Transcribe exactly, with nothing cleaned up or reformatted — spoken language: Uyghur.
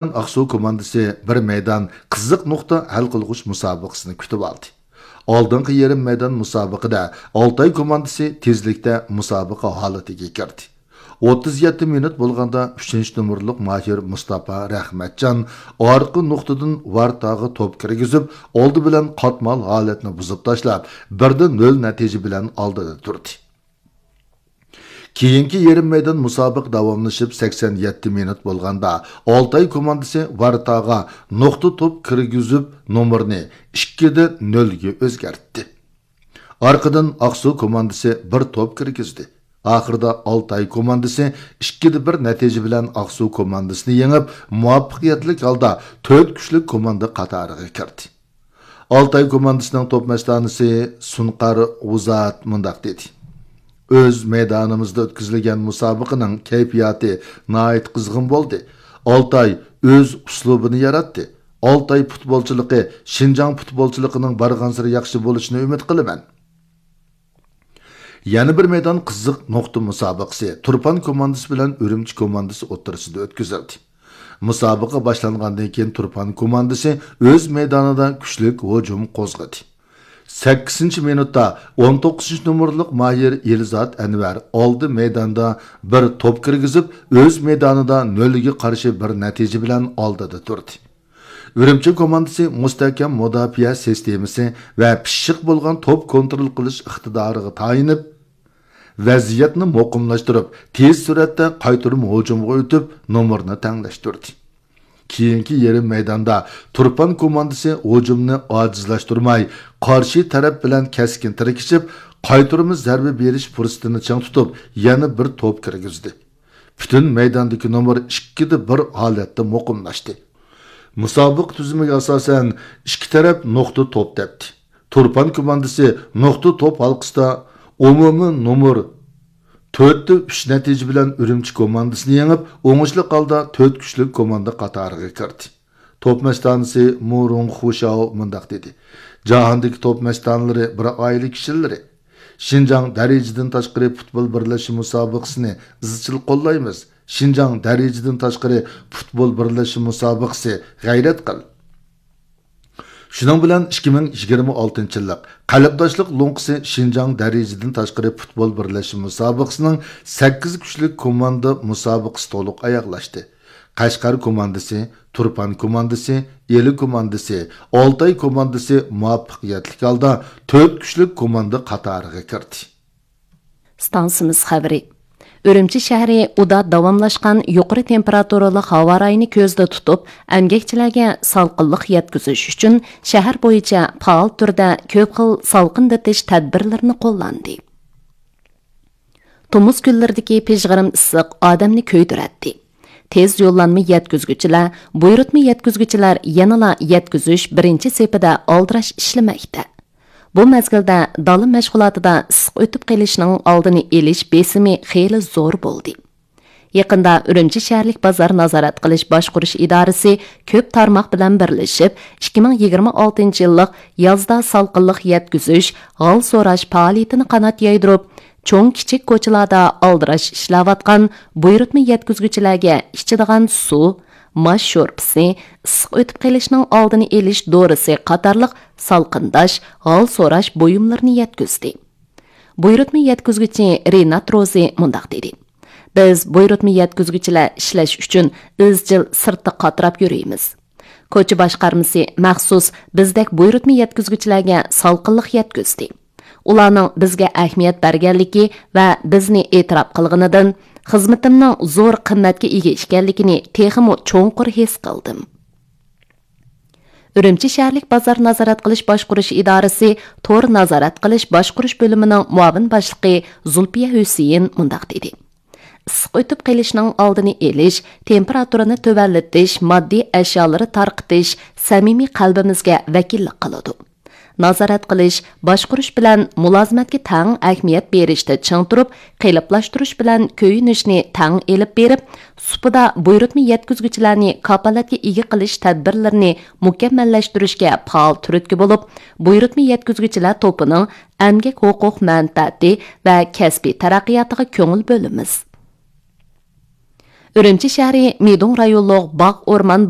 ئاقسۇ كوماندىسى بىر مەيدان قىزىق نۇقتا ھەل قىلغۇچ مۇسابىقىسىنى كۈتۈۋالدى. ئالدىنقى يېرىم مەيدان مۇسابىقىدە ئالتاي كوماندىسى تېزلىكتە مۇسابىقە ھالىتىگە كىردى. ئوتتۇز يەتتە مىنۇت بولغاندا ئۈچىنچى نومۇرلۇق ماھىر مۇستاپا رەھمەتجان ئارقا نۇقتىدىن ۋارتاغا توپ كىرگۈزۈپ، ئالدى بىلەن قاتمال ھالەتنى بۇزۇپ تاشلاپ، بىر دە نۆل نەتىجە بىلەن ئالدىدا تۇردى. كېيىنكى يېرىم مەيدان مۇسابىقە داۋاملىشىپ، سەكسەن يەتتە مىنۇت بولغاندا، ئالتاي كوماندىسى ۋارتاغا نۇقتا توپ كىرگۈزۈپ، نومۇرنى ئىككى دە نۆلگە ئۆزگەرتتى. ئارقىدىن ئاقسۇ كوماندىسى بىر توپ كىرگۈزدى. ئاخىرىدا ئالتاي كوماندىسى ئىككى دە بىر نەتىجە بىلەن ئاقسۇ كوماندىسىنى يېڭىپ، مۇۋەپپەقىيەتلىك ھالدا تۆت كۈچلۈك كوماندا قاتارىغا كىردى. ئالتاي كوماندىسىنىڭ توپ مەستانىسى سۇنقار غۇزات مۇنداق دېدى: «ئۆز مەيدانىمىزدا ئۆتكۈزۈلگەن مۇسابىقىنىڭ كەيپىياتى ناھايىتى قىزغىن بولدى. ئالتاي ئۆز ئۇسلۇبىنى ياراتتى. ئالتاي پۇتبولچىلىقى شىنجاڭ پۇتبولچىلىقىنىڭ بارغانسېرى ياخشى بولۇشىنى ئۈمىد قىلىمەن.» يەنە بىر مەيدان قىزىق نۇقتا مۇسابىقىسى تۇرپان كوماندىسى بىلەن ئۈرۈمچى كوماندىسى ئوتتۇرىسىدا ئۆتكۈزۈلدى. مۇسابىقە باشلانغاندىن كېيىن تۇرپان كوماندىسى ئۆز مەيدانىدا كۈچلۈك ھۇجۇم قوزغىدى. سەككىزىنچى مىنۇتتا ئون توققۇزىنچى نومۇرلۇق ماھىر ئېلزات ئەنۋەر ئالدى مەيداندا بىر توپ كىرگۈزۈپ، ئۆز مەيدانىدا نۆلگە قارشى بىر نەتىجە بىلەن ئالدىدا تۇردى. ئۈرۈمچى كوماندىسى مۇستەھكەم مۇداپىئە سىستېمىسى ۋە پىششىق بولغان توپ كونترول قىلىش ئىقتىدارىغا تايىنىپ، ۋەزىيەتنى مۇقىملاشتۇرۇپ، تېز سۈرئەتتە قايتۇرما ھۇجۇمغا ئۆتۈپ، نومۇرنى تەڭلەشتۈردى. كېيىنكى يېرىم مەيداندا تۇرپان كوماندىسى ھۇجۇمنى ئاجىزلاشتۇرماي، قارشى تەرەپ بىلەن كەسكىن تىركىشىپ، قايتۇرما زەربە بېرىش پۇرسىتىنى چىڭ تۇتۇپ، يەنە بىر توپ كىرگۈزدى. پۈتۈن مەيداندىكى نومۇر ئىككىدە بىر ھالەتتە مۇقىملاشتى. مۇسابىقە تۈزۈمىگە ئاساسەن، ئىككى تەرەپ نۇقتا توپ تەپتى. تۇرپان كوماندىسى نۇقتا توپ ھالقىسىدا ئومۇمىي نومۇر تۆتتە ئۈچ نەتىجە بىلەن ئۈرۈمچى كوماندىسىنى يېڭىپ، ئوڭۇشلۇق ھالدا تۆت كۈچلۈك كوماندا قاتارىغا كىردى. توپ مەستانىسى مۇ رۇڭ خۇشاۋ مۇنداق دېدى: «جاھاندىكى توپ مەستانىلىرى بىر ئائىلە كىشىلىرى. شىنجاڭ دەرىجىدىن تاشقىرى پۇتبول بىرلەشمە مۇسابىقىسىنى ئىزچىل قوللايمىز. شىنجاڭ دەرىجىدىن تاشقىرى پۇتبول بىرلەشمە مۇسابىقىسى غەيرەت قىل.» شۇنىڭ بىلەن ئىككى مىڭ يىگىرمە ئالتىنچى يىللىق قەلبداشلىق لوڭقىسى شىنجاڭ دەرىجىدىن تاشقىرى پۇتبول بىرلەشمە مۇسابىقىسىنىڭ سەككىز كۈچلۈك كوماندا مۇسابىقىسى تولۇق ئاياغلاشتى. قەشقەر كوماندىسى، تۇرپان كوماندىسى، ئىلى كوماندىسى، ئالتاي كوماندىسى مۇۋەپپەقىيەتلىك ھالدا تۆت كۈچلۈك كوماندا قاتارىغا كىردى. ئىستانسىمىز خەۋىرى. ئۈرۈمچى شەھىرى ئۇدا داۋاملاشقان يۇقىرى تېمپېراتۇرىلىق ھاۋا رايىنى كۆزدە تۇتۇپ، ئەمگەكچىلەرگە سالقىنلىق يەتكۈزۈش ئۈچۈن شەھەر بويىچە پائال تۈردە كۆپ خىل سالقىندىتىش تەدبىرلىرىنى قوللاندى. تومۇز كۈنلىرىدىكى پىژغىرىم ئىسسىق ئادەمنى كۆيدۈرەتتى. تېز يوللانما يەتكۈزگۈچىلەر، بۇيرۇتما يەتكۈزگۈچىلەر يەنىلا يەتكۈزۈش بىرىنچى سېپىدە ئالدىراش ئىشلىمەكتە. بۇ مەزگىلدە دالا مەشغۇلاتىدا ئىسسىق ئۆتۈپ قېلىشنىڭ ئالدىنى ئېلىش بېسىمى خېلى زور بولدى. يېقىندا ئۈرۈمچى شەھەرلىك بازار نازارەت قىلىش باشقۇرۇش ئىدارىسى كۆپ تارماق بىلەن بىرلىشىپ، ئىككى مىڭ يىگىرمە ئالتىنچى يىللىق يازدا سالقىنلىق يەتكۈزۈش، ھال سوراش پائالىيىتىنى قانات يايدۇرۇپ، چوڭ كىچىك كوچىلاردا ئالدىراش ئىشلەۋاتقان بۇيرۇتما يەتكۈزگۈچىلەرگە ئىچىدىغان سۇ، ماش شورپىسى، ئىسسىق ئۆتۈپ قېلىشنىڭ ئالدىنى ئېلىش دورىسى قاتارلىق سالقىنداش، ھال سوراش بۇيۇملىرىنى يەتكۈزدى. بۇيرۇتما يەتكۈزگۈچى رىنات روزى مۇنداق دېدى: «بىز بۇيرۇتما يەتكۈزگۈچىلەر ئىشلەش ئۈچۈن ئىزچىل سىرتتا قاتراپ يۈرىمىز. كوچا باشقارمىسى مەخسۇس بىزدەك بۇيرۇتما يەتكۈزگۈچىلەرگە سالقىنلىق يەتكۈزدى. ئۇلارنىڭ بىزگە ئەھمىيەت بەرگەنلىكى ۋە بىزنى ئېتىراپ قىلغىنىدىن خىزمىتىمنىڭ زور قىممەتكە ئىگە ئىكەنلىكىنى تېخىمۇ چوڭقۇر ھېس قىلدىم.» ئۈرۈمچى شەھەرلىك بازار نازارەت قىلىش باشقۇرۇش ئىدارىسى تور نازارەت قىلىش باشقۇرۇش بۆلۈمىنىڭ مۇئاۋىن باشلىقى زۇلپىيە ھۈسېيىن مۇنداق دېدى: «ئىسسىق ئۆتۈپ قېلىشنىڭ ئالدىنى ئېلىش، تېمپېراتۇرىنى تۆۋەنلىتىش، ماددىي ئەشيالىرى تارقىتىش سەمىمىي قەلبىمىزگە ۋەكىللىك قىلىدۇ. نازارەت قىلىش، باشقۇرۇش بىلەن مۇلازىمەتكە تەڭ ئەھمىيەت بېرىشتە چىڭ تۇرۇپ، قېلىپلاشتۇرۇش بىلەن كۆيۈنۈشنى تەڭ ئېلىپ بېرىپ، سۇپىدا بۇيرۇتما يەتكۈزگۈچىلەرنى كاپالەتكە ئىگە قىلىش تەدبىرلىرىنى مۇكەممەللەشتۈرۈشكە پائال تۈرتكە بولۇپ، بۇيرۇتما يەتكۈزگۈچىلەر توپىنىڭ ئەمگەك ھوقۇق مەنپەئەتى ۋە كەسپىي تەرەققىياتىغا كۆڭۈل بۆلىمىز.» ئۈرۈمچى شەھىرى مىدۇڭ رايونلۇق باغ ئورمان